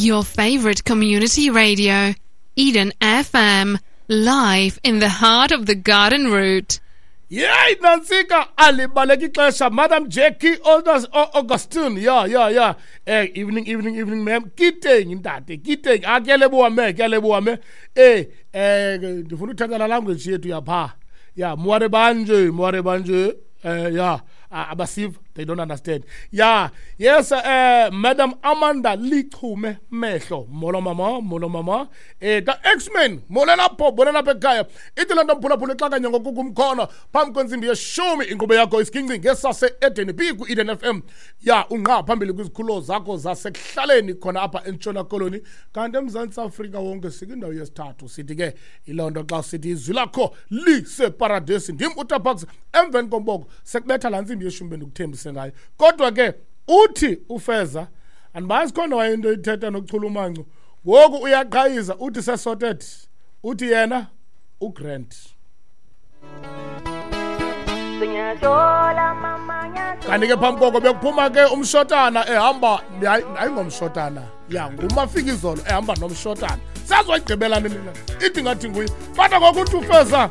Your favorite community radio, Eden FM, live in the heart of the garden route. Yeyi nantsika, alibaleka ixesha. Madam Jackie Augustine, ya ya ya, evening, evening, evening, ma'am. Ke teng ntate, ke teng. A ke a leboha me, ke a leboha me. Ndifuna uthetha la language yethu yapha. Ya, moare banje, moare banje. Ya, abasiva, they don't understand. Ya, yes, Madam Amanda Lichume Mehlo. Molo mama, molo mama. Ta X-Men, molela pho, bolela pha ekhaya. Ithi le nto mphulaphula ixakanye ngokukumkhono phambi kwentsimbi yeshumi, inkqubo yakho isiginci ngesase Eden B ku Eden FM. Ya, unqa phambili kwizikhululo zakho zasekuhlaleni khona apha eNtshona Koloni. Kanti eMzantsi Afrika wonke sikwindawo yesithathu. Sithi ke yiloo nto xa sithi izwi lakho liseparadesi. Ndim uTabax, emveni komboko sekubetha laa ntsimbi yeshumi bendikuthembise ngayo. Kodwa ke uthi uFeza, andibazi khona wayento ithetha nochulumanco. Ngoku uyaqhayiza, uthi sesorted, uthi yena uGrant. Kanti ke phambi koko bekuphuma ke umshotana ehamba, hayi, ayingomshotana, ya nguMafikizolo ehamba nomshotana. Sazoyigqibela nini na? Ithi ngathi nguye. Kodwa ngoku uthi uFeza